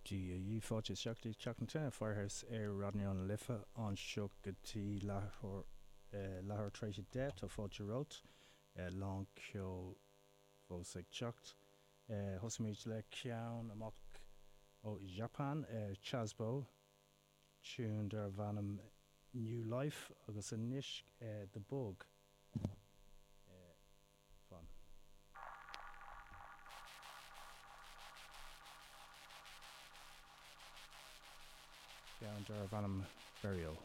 Dia dhaoibh, fáilte isteach go dtí Teach na Tine, Firehouse ar Raidió na Life anseo go dtí leathuair leathuair tar éis a 10. Tá fáilte romhat. Lán ceoil fós ag teacht. Thosaímid le ceann amach ó Japan, Chazbo, tune darbh ainm New Life agus anois The Bug. Fan. Ceann darbh ainm Burial.